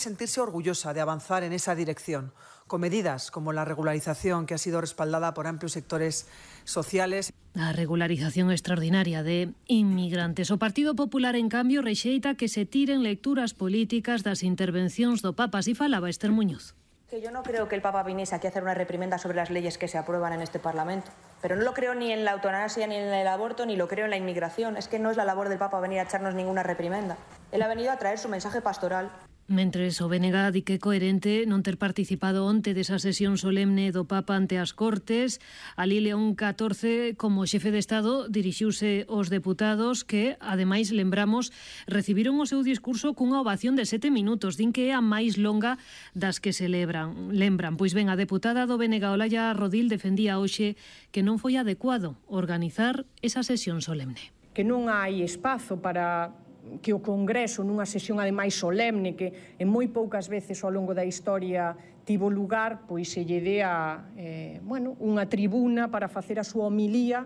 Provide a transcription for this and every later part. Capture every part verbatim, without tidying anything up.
sentirse orgullosa de avanzar en esa dirección, con medidas como la regularización, que ha sido respaldada por amplios sectores sociales. A regularización extraordinaria de inmigrantes. O Partido Popular, en cambio, rexeita que se tiren lecturas políticas das intervencións do Papa. Así falaba Esther Muñoz. Que yo no creo que el Papa viniese aquí a hacer una reprimenda sobre las leyes que se aprueban en este Parlamento. Pero no lo creo ni en la eutanasia, ni en el aborto, ni lo creo en la inmigración. Es que no es la labor del Papa venir a echarnos ninguna reprimenda. Él ha venido a traer su mensaje pastoral. Mentres o B N G di que é coherente non ter participado onte desa sesión solemne do Papa ante as Cortes. Ali León catorce, como xefe de Estado, dirixiuse aos deputados que, ademais, lembramos, recibiron o seu discurso cunha ovación de sete minutos. Din que é a máis longa das que celebran. Lembran, pois ben, a deputada do B N G, Olalla Rodil, defendía hoxe que non foi adecuado organizar esa sesión solemne. Que non hai espazo para que o Congreso, nunha sesión ademais solemne que en moi poucas veces ao longo da historia tivo lugar, pois se lle dea eh, bueno, unha tribuna para facer a súa homilía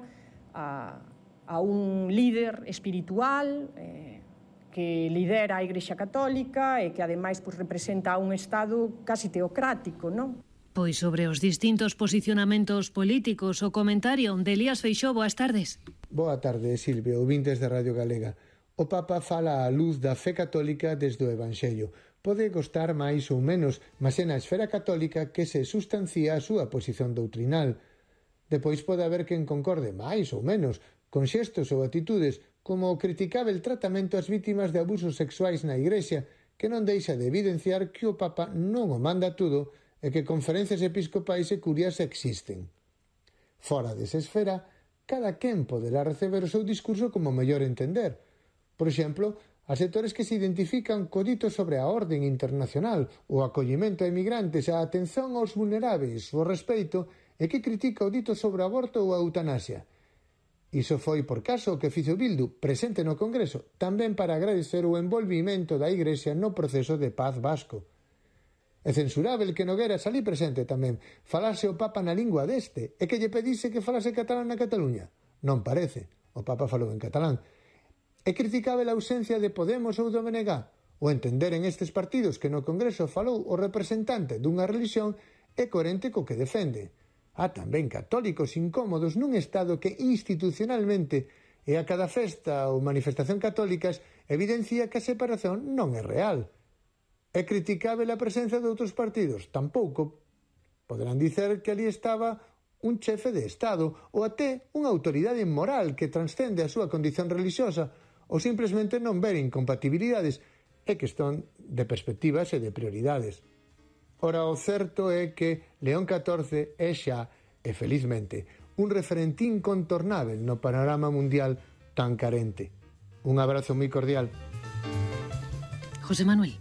a, a un líder espiritual eh, que lidera a Igrexa Católica e que ademais pois, representa a un Estado casi teocrático, non? Pois sobre os distintos posicionamentos políticos, o comentario de Elías Feixóo. Boas tardes. Boa tarde, Silvia, ouvintes de Radio Galega. O Papa fala á luz da fe católica desde o Evanxello. Pode gostar máis ou menos, mas é na esfera católica que se sustancia a súa posición doutrinal. Depois pode haber quen concorde máis ou menos con xestos ou atitudes como o criticábel tratamento ás vítimas de abusos sexuais na Igrexa, que non deixa de evidenciar que o Papa non o manda tudo e que conferencias episcopais e curias existen. Fora desa esfera, cada quen poderá receber o seu discurso como mellor entender. Por exemplo, a sectores que se identifican co dito sobre a orden internacional, o acollimento a emigrantes, a atención aos vulneráveis, o respeito, e que critica o dito sobre o aborto ou a eutanasia. Iso foi por caso o que fixo Bildu, presente no Congreso, tamén para agradecer o envolvimento da Igrexa no proceso de paz vasco. É censurável que Nogueras ali presente tamén falase o Papa na lingua deste e que lle pedise que falase catalán na Cataluña. Non parece, o Papa falou en catalán. É criticável a ausencia de Podemos ou do B N G, o entender en estes partidos que no Congreso falou o representante dunha religión é coherente co que defende. Há tamén católicos incómodos nun Estado que institucionalmente e a cada festa ou manifestación católicas evidencia que a separación non é real. É criticável a presenza de outros partidos? Tampouco. Poderán dicer que ali estaba un chefe de Estado ou até unha autoridade moral que transcende a súa condición religiosa, ou simplesmente non ver incompatibilidades. É questón de perspectivas e de prioridades. Ora, o certo é que León catorce é xa, e felizmente, un referente incontornável no panorama mundial tan carente. Un abrazo moi cordial. José Manuel.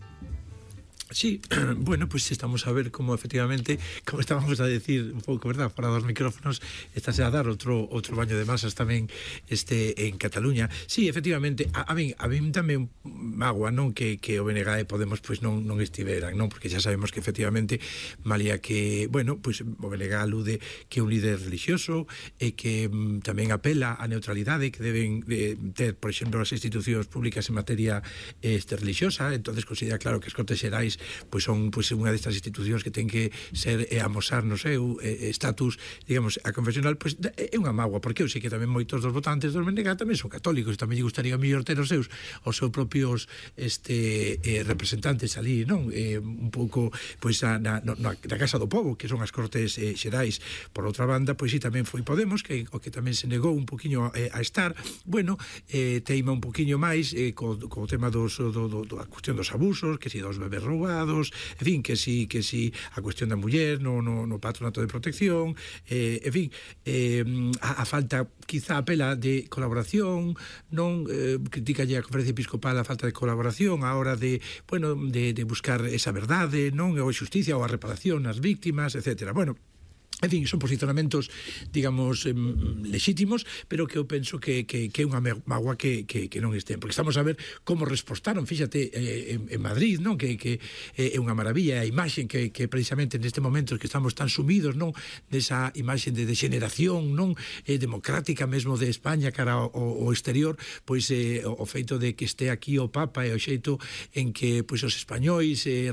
Sí, bueno, pues estamos a ver como efectivamente, como estábamos a decir un pouco, verdad, para dos micrófonos, estáse a dar outro outro baño de masas tamén este en Cataluña. Sí, efectivamente, a, a min a min tamén magua, non, que que o B N G e Podemos pois non non estiveran, non, porque xa sabemos que efectivamente malía que, bueno, pois o B N G alude que é un líder religioso e que mm, tamén apela á neutralidade que deben de ter, por exemplo, as institucións públicas en materia este religiosa. Entonces considera claro que as Cortes Xerais pois son pois unha destas institucións que ten que ser e amosar no seu estatus, digamos, a confesional, pois é unha mágoa, porque eu sei que tamén moitos dos votantes dos B N G tamén son católicos, tamén lle gustaría mellor ter os seus os seus propios este eh, representantes ali, non? Eh, un pouco pois a, na, na, na Casa do Pobo, que son as Cortes eh, Xerais. Por outra banda, pois si tamén foi Podemos, que o que tamén se negou un poquiño eh, a estar, bueno, eh, teima un poquiño máis eh, co, co tema dos do, do, do, a cuestión dos abusos, que si dos bebés roubados, en fin, que si, que si a cuestión da muller no, no, no patronato de protección, eh, en fin, eh, a, a falta, quizá apela de colaboración, non eh, critica a Conferencia Episcopal a falta de colaboración a hora de, bueno, de, de buscar esa verdade, non, ou a xusticia ou a reparación ás víctimas, etcétera. Bueno, en fin, son posicionamentos, digamos, eh, lexítimos, pero que eu penso que, que, que é unha mágoa que, que, que non estén, porque estamos a ver como respostaron, fíxate, eh, en, en Madrid, non, que, que é unha maravilla a imaxe que, que precisamente neste momento que estamos tan sumidos, non, desa imaxe de degeneración, non, eh, democrática mesmo de España cara ao, ao exterior, pois eh, o, o feito de que este aquí o Papa e o xeito en que pois os españois eh,